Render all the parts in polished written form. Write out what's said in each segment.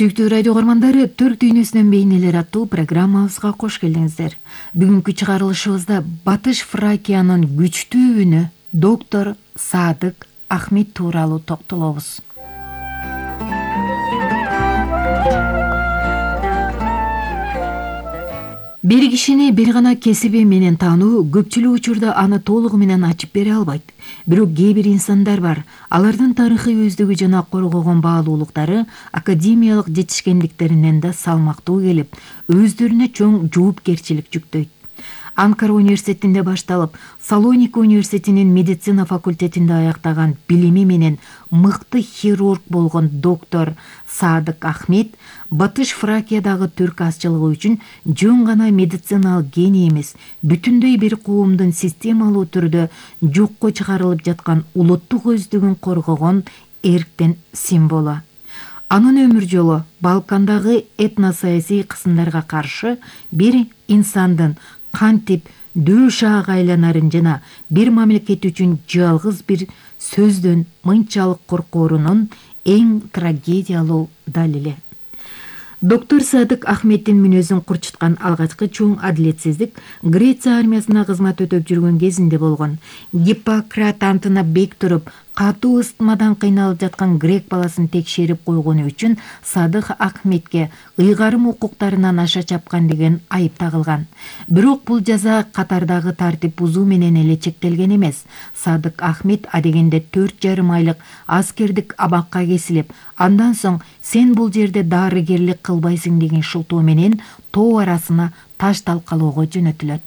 Сүйүктүү радио угармандары, Түрк дүйнөсүнөн бейнелер аттуу программабызга кош келиңиздер. Бүгүнкү чыгарылышыбызда Батыш Фракиянын күчтүү үнү доктор Садык Ахмет тууралуу токтолобуз. Бир кишини бир гана кесиби менен таануу көпчүлүк учурда аны толугу менен ачып бере албайт. Бирок кээ бир инсандар бар. Алардын тарыхый өздүгү жана коргогон баалуулуктары академиялык жетишкендиктеринен да салмактуу келип, өздөрүнө чоң жоопкерчилик жүктөйт. Анкара университетинде башталып, Салоника университетинин медицина факультетинде аяктаган билими менен мыкты хирург болгон доктор Садык Ахмет Батыш Фракиядагы түрк азчылыгы үчүн жөн гана медициналык гений эмес, бүтүндөй бир коомдун системалуу түрдө жокко чыгарылып жаткан улуттук өздүгүн коргогон эрктин символу. Анын өмүр жолу Балкандагы этносаясий кысымдарга каршы бир инсандын кантип дөөшаак айланарын жана бир мамлекет үчүн жалгыз бир сөздөн мынчалык коркоорунун эң трагедиялуу далили. Доктор Садык Ахметтин мүнөзүн курчуткан алгачкы чоң адилетсиздик Греция армиясына кызмат өтөп жүргөн кезинде болгон. Гиппократ антына бек туруп, катуу ыстмадан кыйналып жаткан грек баласын текшерип койгону үчүн Садык Ахметке ыйгарым укуктарынан аша чапкан деген айып тагылган. Бирок бул жаза катардагы тартип бузуу менен эле чектелген эмес. Садык Ахмет адегенде 4,5 айлык аскердик абакка кесилип, андан соң сен бул жерде дарыгерлик кылбайсың деген шылтоо менен тоо арасына таш талкалоого жөнөтүлөт.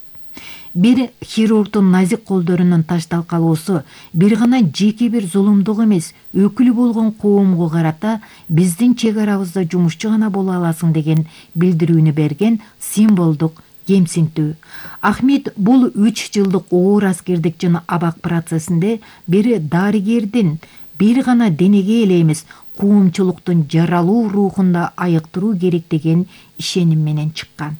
Бир хирургдун назик колдорунун таш талкалоосу бир гана жеке бир зулумдук эмес, өкүлү болгон коомго карата биздин чек арабызда жумушчу гана боло аласың деген билдирүүнү берген символдук кемсинтүү. Ахмет бул 3 жылдык оор аскердик жана абак процессинде бир дарыгердин бир гана денеге эле эмес, коомчулуктун жаралуу рухунда айыктыруу керек деген ишеним менен чыккан.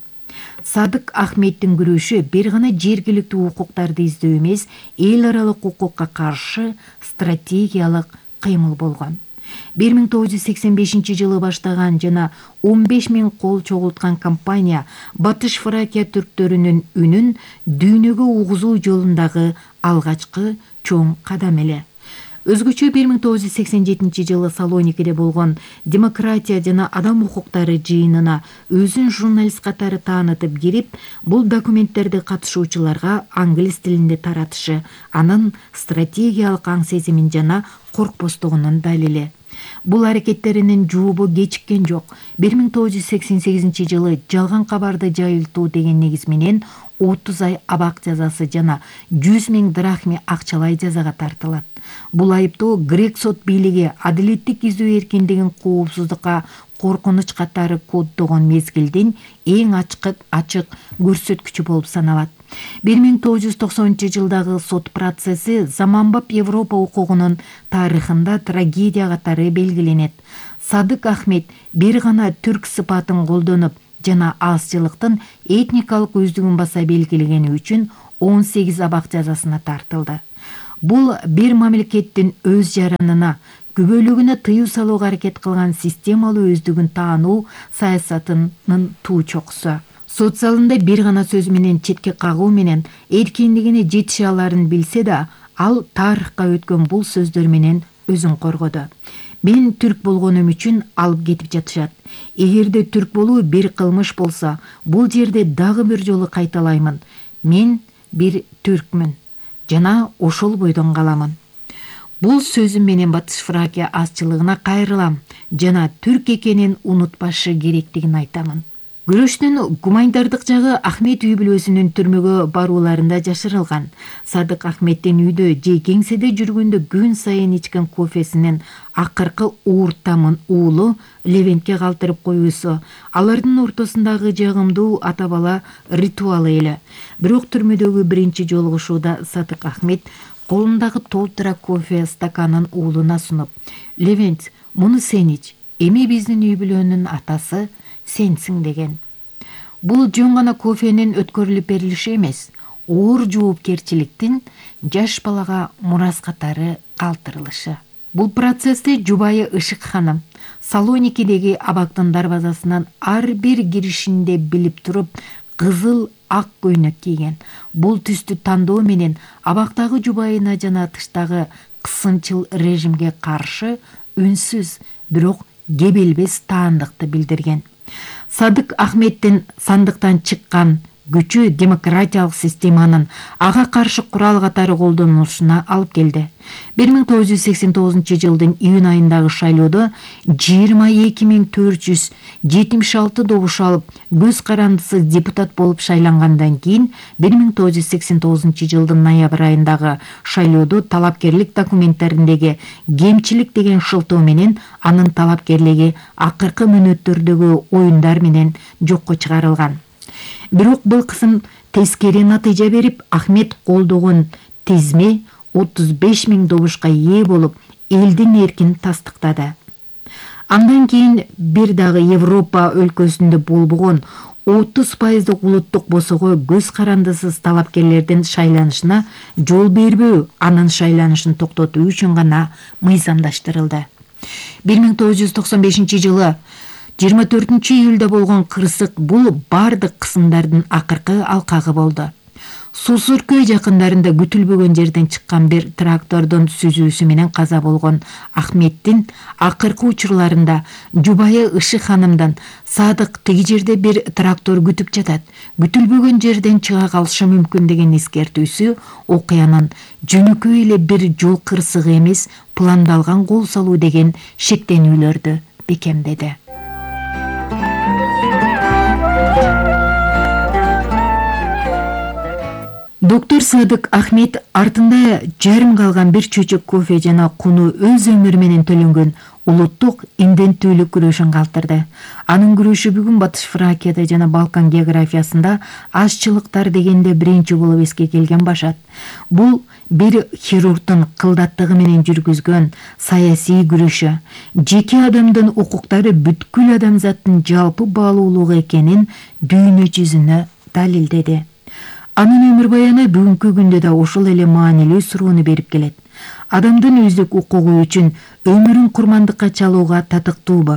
Садык Ахметтин күрөшү бир гана жергиликтүү укуктарды издөө эмес, эл аралык укукка каршы стратегиялык кыймыл болгон. 1985 жылы баштаган жана 15 000 кол чогулткан кампания Батыш Фракия түрктөрүнүн үнүн дүйнөгө угузуу жолундагы алгачкы чоң кадам эле. Өзгөчө 1987 жылы Салоникиде болгон демократия жана адам укуктары жыйынына өзүн журналист катары таанытып кирип, бул документтерди катышуучуларга англис тилинде таратышы анын стратегиялык аң сезимин жана коркпостугунун далили. Бул аракеттеринин жообу кечиккен жок. 1988 жылы жалган кабарды жайылтуу деген негиз менен 30 ай абак жазасы жана 100 000 драхми акчалай жазага тартылат. Бул айыптоо грек сот бийлиги адилеттик издөө эркиндигин коопсуздукка коркунуч катары коддогон мезгилдин эң ачык көрсөткүчү болуп саналат. 1990 жылдагы сот процесси заманбап Европа укугунун тарыхында трагедия катары белгиленет. Садык Ахмет бир гана түрк сыпатын колдонуп жана азчылыктын этникалык өздүгүн баса белгилегени үчүн 18 абак жазасына тартылды. Бул бир мамлекеттин өз жаранына, күбөлүгүнө тыюу салууга аракет кылган системалуу өздүгүн таануу саясатынын туу чокусу. Сот залында бир гана сөз менен четке кагуу менен эркиндигине жетише аларын билсе да, ал тарыхка өткөн бул сөздөр менен өзүн коргоду. Мен түрк болгонум үчүн алып кетип жатышат. Эгерде түрк болуу бир кылмыш болсо, бул жерде дагы бир жолу кайталаймын. Мен бир түркмүн жана ошол бойдон каламын. Бул сөзүм менен Батыш Фракия азчылыгына кайрылам жана түрк экенин унутпашы керектигин айтамын. Күрөштүн гуманитардык жагы Ахмет үй бүлөсүнүн түрмөгө барууларында жашырылган. Садык Ахметтин үйдө же кеңседе жүргөндө күн сайын ичкен кофесинин акыркы ууртамын уулу Левентке калтырып коюусу алардын ортосундагы жагымдуу ата бала ритуалы эле. Бирок түрмөдөгү биринчи жолугушууда Садык Ахмет колундагы толтура кофе стаканын уулуна сунуп: "Левент, муну сен ич. Эми биздин үй бүлөнүн атасы сенсиң" деген. Бул жөн гана кофенин өткөрүлүп берилиши эмес, оор жоопкерчиликтин жаш балага мурас катары калтырылышы. Бул процессти жубайы Ышык ханым Салоникидеги абактын дарбазасынан ар бир киришинде билип туруп, кызыл ак көйнөк кийген. Бул түстү тандоо менен абактагы жубайына жана тыштагы кысымчыл режимге каршы үнсүз, бирок кебелбес таандыкты билдирген. Садык Ахметтин сандыктан чыккан күчү демократиялык системанын ага каршы курал катары колдонулушуна алып келди. 1989 жылдын июнь айындагы шайлоодо 22.476 добуш алып, көз карандысыз депутат болуп шайлангандан кийин 1989 жылдын ноябрь айындагы шайлоодо талапкерлик документтериндеги кемчилик деген шылтоо менен анын талапкерлиги акыркы мүнөттөрдөгү оюндар менен жокко чыгарылган. Бирок бул кысым тескери натыйжа берип, Ахмет колдогон тизме 35.000 добушка ээ болуп, элдин эркин тастыктады. Андан кийин бир дагы Европа өлкөсүндө болбогон 30% улуттук босого көз карандысыз талапкерлердин шайланышына жол бербөө анын шайланышын токтотуу үчүн гана мыйзамдаштырылды. 1995 жылы 24 июлда болгон кырсык бул бардык кысымдардын акыркы алкагы болду. Сусуркөй жакындарында күтүлбөгөн жерден чыккан бир трактордун сүзүүсү менен каза болгон Ахметтин акыркы учурларында жубайы Ышык ханымдан Садык тиги жерде бир трактор күтүп жатат, күтүлбөгөн жерден чыга калышы мүмкүн деген эскертүүсү окуянын жөнөкөй эле бир жол кырсыгы эмес, пландалган кол салуу деген шектенүүлөрдү бекемдеди. Доктор Садык Ахмет артында жарым калган бир чөчөк кофе жана куну өз өмүрү менен төлөнгөн улуттук инденттүүлүк күрөшүн калтырды. Анын күрөшү бүгүн Батыш Фракияда жана Балкан географиясында азчылыктар дегенде биринчи болуп эске келген башат. Бул бир хирургдун кылдаттыгы менен жүргүзгөн саясий күрөшү, жеке адамдын укуктары бүткүл адамзаттын жалпы баалуулугу экенин дүйнө жүзүнө далилдеди. Анын өмүр баяны бүгүнкү күндө да ошол эле маанилүү суроону берип келет. Адамдын өздүк укугу үчүн өмүрүн курмандыкка чалууга татыктуубу?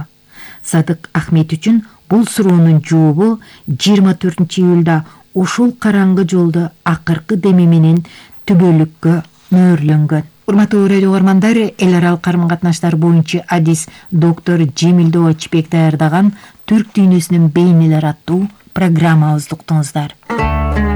Садык Ахмет үчүн бул суроонун жообу 24 июлда ошол караңгы жолду акыркы деми менен түбөлүккө мөөрлөнгөн. Урматтуу радио угармандар, эл аралык карым-катнаштар боюнча адис доктор Жемилдоо Чипек даярдаган Түрк дүйнөсүнүн бейнелери аттуу программабызды уктуңуздар.